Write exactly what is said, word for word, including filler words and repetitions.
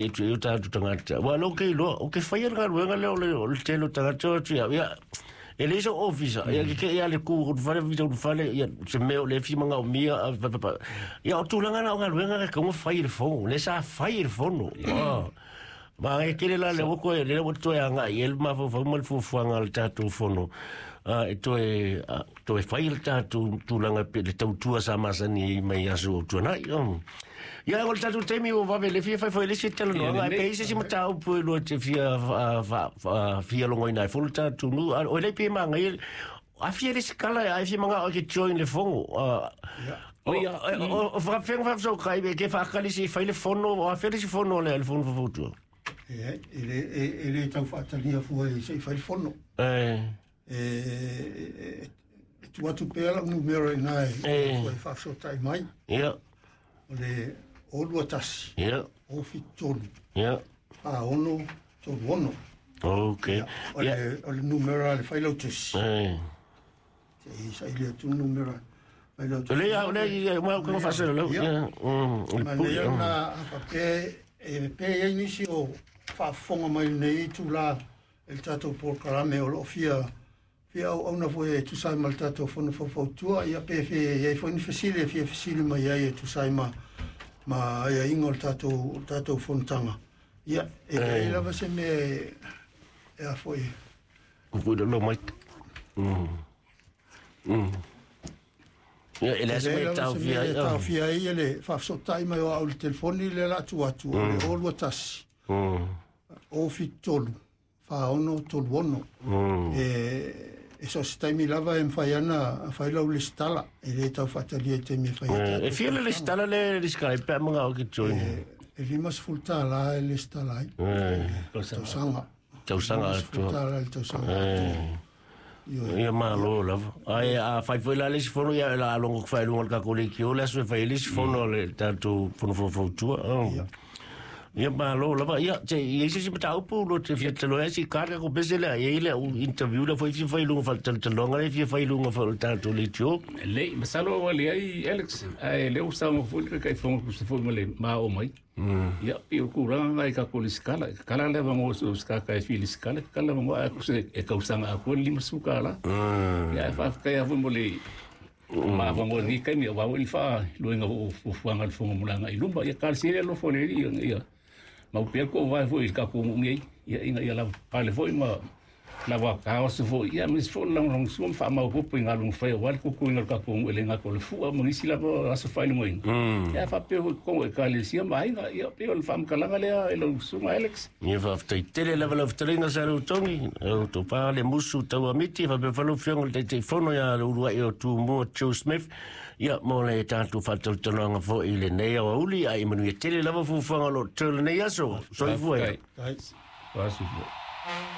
E tu e o tātou tagata. Ua lo ke iloa, o ke whaia galuega lea o le, o le tele o tagata o atu ia. Ia, e le so ofisa, ia ke ke ia le ku, o fale vita o fale, ia se mea o le fi manga o mia, a, pa, pa, pa. Ia o tulaga na o galuega ka kaunga fai i le fono, le sa fai i le fono. Ah. Ma e kele la le oko e le ua toe anga i el mafaufau ma le fuafuaga a le tatou fono. Ah, e toe, ah, toe fai le tatou tulaga pe le tautua sa masani ai mai aso o tuanai. Um. Ia, o le tatou taimi ua vave le fia fai foi le isi talanoaga, ai pe i se isi mataupu e lua te fia, fa, fa, fa, fia logoina ai foi le tatou nuu. Ah, o lei pe magai, a fia le isi kala, ai fia manga o ke join le fono. Ah, o, Ia. o, o, whakawhenga whawhasau kai, e ke whakali si fai le fono, o a fia le isi fono le, le fono fafautua. E, e, le, e, e le tau faatalia fua i se i fai le fono. Eh, E, e, e tu atu pea lau numera i nā e, Eh. e faafesootai mai. ia, O le o lua tasi, ia, o fitu tolu, ia. fa ono, tolu ono. Ok. O Ia. le, o le numera le failautusi. Eh. Te i sa ile atu numera failautusi. Le ia, le ia, ma ko fa lau. Ia. Ia. Mm, le Ma pu. lea na a faapea e pe ai nisi o faafofoga mai lenei itulā e le tatou polokalame o loo fia fia auauna foi e tusa ai ma le tatou fono faufautua ia pe fe iai foi ni fesili e fia fesili mai ai e tusa ai ma ma aiaiga o le tatou o le tatou fonotaga ia e leai lava se mea e e a foi Ku lo mai. Mm. Mm. Ia, e le e se leai me lava tau se fia. mea e taofia ai e le faafesootai mai o au i le telefoni le la atu atu o le o lua tasi Mm. o fitu tolu fa ono tolu ono Mm. e e so se taimi lava e mawhai ana a whai lau le stala e le tau whaatalia i te mea whai Eh, E fia le stala le le sky pe manga o ke join. e, e lima sefulu tālā e le stala ai Eh, tausaga tausaga Lima sefulu atoa. tālā le tausaga Eh. Ioe. Ia malo lava. Ai a fai foi la le isi fono ia la longo fai lunga le kako le ki o le aso e fai le isi fono le tatou fono fautua. Ia. Ia malo lava. Ia te ia se si mataupu lo te fia talo ai si kaka ko pese le ia le u interview la foi fi fai lunga fai talonga le fi fai lunga fai tatou le tio. Lei, masalo ua leai Alex, ae lea ua saunoa foi le taitaifono tusa foi ma le maoo mai. Ia, pei o le tulaga lena i tatou lesitala. E tatala le avanoa o se tagata e fia lesitala, e tatala le avanoa ae tusa e tausaga atoa le limasefulu tālā. Ia, ae faafetai lava foi mo le maavanoa i lenei taimi aua foi le faailoaina o fuafuaga a le fono mo le agai i luma. Ia talosia le alofa o le Alii ina ia mau pea le toavae foi i le tatou nuu nei, ia ina ia lavapapale foi ma lava taoso foi, ia aemaise foi o le lagolagosua ma faamaopoopo i galuega fai aua le tutuina o le tatou nuu e le gata o le fua ma nisi lava aso faailogaina. Ia ae faapea foi i totonu o ekalesia ma aiga, ia pei o le faamatalaga lea e lau susuga Alex. Ia faafetai tele lava lau fetalaiga sa lau togi, lau topā le musu tauamiti, faapea foi lau afioga i le Taitaifono ia le uluai o Tumua Joe Smith, ia mo le tatou faatalatalanoaga foi i lenei aoauli, ae manuia tele lava fuafuaga o loo totoe o lenei aso. Soifua ia. Faafetai. Ai. Faasifua.